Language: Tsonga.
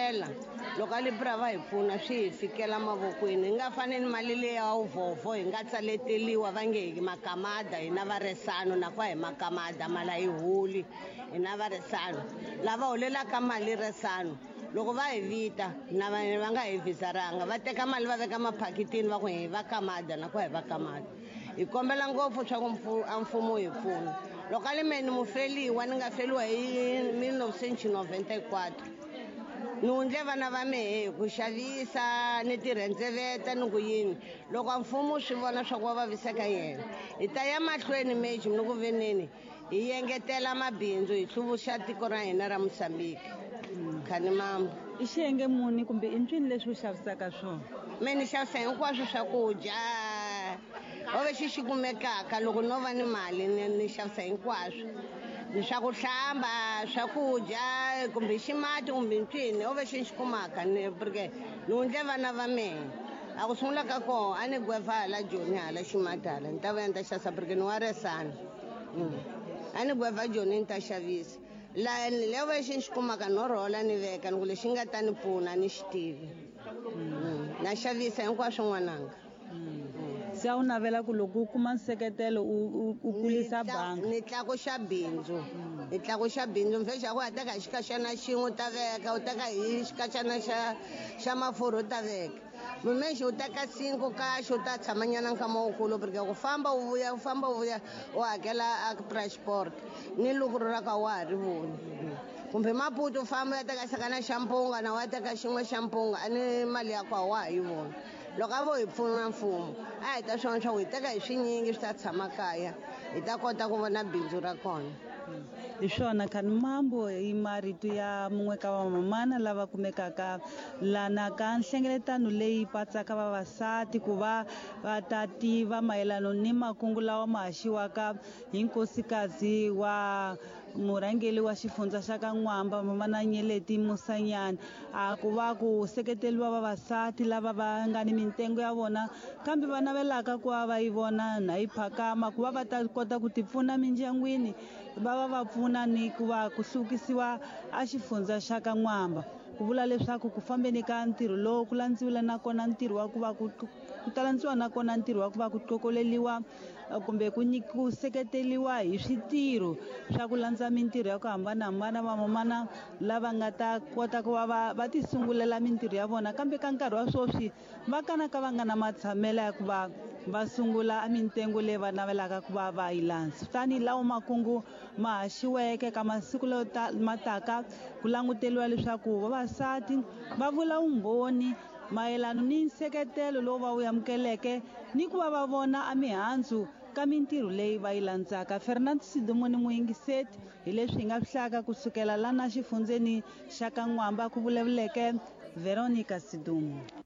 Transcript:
kombela loko a libra va hi pfuna swi hi fikela mavokweni hi nga fani ni mali leyi ya vuvhovho hi nga tsaleteliwa va nge hi makamada hina varesano na ku a hi makamada mali a yi holi hina varesano lava holelaka mali resano loko va hi vita na va va nga hi vhizaranga va teka mali va veka maphakitini va ku hi va kamada na ku hi va kamada hi kombela ngopfu swa ku a mfumo hi pfuna loko a li me ni mufeliwa ni nga feliwa hi 1994 ni wundle vana va mehe hi ku xavisa ni tirhendzeveta ni ku yini loko a mfumo swi vona swa ku va vaviseka yena hi ta ya mahlweni meji ni ku veneni hi yengetela mabindzu hi hluvuxa tiko ra hina ra Mozambique khani mambo i xiyenge muni kumbe i ncwini leswi u xavisaka swona me ni xavisa hinkwaswo swakudya ove xi xi kumekaka loko no va ni mali ni xavisa hinkwaswo ni swa ku hlamba swakudya kumbe ximati kumbe ncwini ove xi xi kumaka ni porque ni wundle vana va mehe a ku sungula ka koho a ni gweva hala joni hala ximati hala ni ta vuya ni ta xavisa porque ni wa resana a ni gweva joni ni ta xavisa la leyo lexi ni xi kumaka no rhola ni veka ni ku lexi nga ta ni pfuna ni xi tivi na xavisa hinkwaswo n'wananga se a wu navela ku loko u kuma nseketelo u kulisa bangi ni tlakuxa bindzu ni tlakuxa bindzu mfexa ku ya teka hi xikaxana xin'we u ta veka u teka hi xikaxana xa mafurha u ta veka mumexi u teka 5 kaxe u ta tshamanyana nkama wukulu porque ku famba u vuya u famba u vuya u hakela a transport ni lukuru ra ka wa ha ri voni kumbe Maputo u famba u ya teka xakana xa mpunga na wa teka xin'we xa mpunga a ni mali ya kwa wa ha yi voni loko a vo hi pfuna mfumo a hi ta swona swa ku hi teka hi swinyingi swi ta tshama kaya hi ta kota ku vona bindzu ra kona hi swona khani mambo i marito ya mun'we ka vamamana lava kumekaka lana ka nhlengeletano leyi patsaka vavasati ku va va ta tiva mayelano ni makungu lawa ma haxiwaka hi nkosikazi wa murhangeri wa xifundza xa ka N'wamba mamana Nyeleti Musanyana a ku va ku seketeriwa vavasati lava va nga ni mintengo ya vona kambe va navelaka ku va va yi vona na yi phakama ku va va ta kota ku tipfuna mindyangwini va va va pfuna ni ku va ku hluvukisiwa a xifundza xa ka N'wamba ku vula leswaku ku fambeni ka ntirho lowu ku landziwile nakona ntirho wa ku va ku ku ta landziwa nakona ntirho wa ku va ku qokoleliwa kumbe ku ku seketeriwa hi switirho swa ku landza mintirho ya ku hambanahambana vamamana lava nga ta kota ku va va va ti sungulela mintirho ya vona kambe ka nkarhi wa sweswi va kanaka va nga na matshamelo ya ku va va sungula mintengo leyi va navelaka ku va va yi landza tanihi lawo makungu ma haxiweke ka masiku lawa ma taka ku languteriwa leswaku vavasati va vula vumbhoni mayelano ni nseketelo lowu va wu amukeleke ni ku va va vona a mihandzu ka mintirho leyi va yi landzaka Fernand Sidumuni muyingiseti hi leswi hi nga swi hlayaka kusukela lana xifundzeni xa ka N'wamba ku vulavuleke Veronica Sidumo.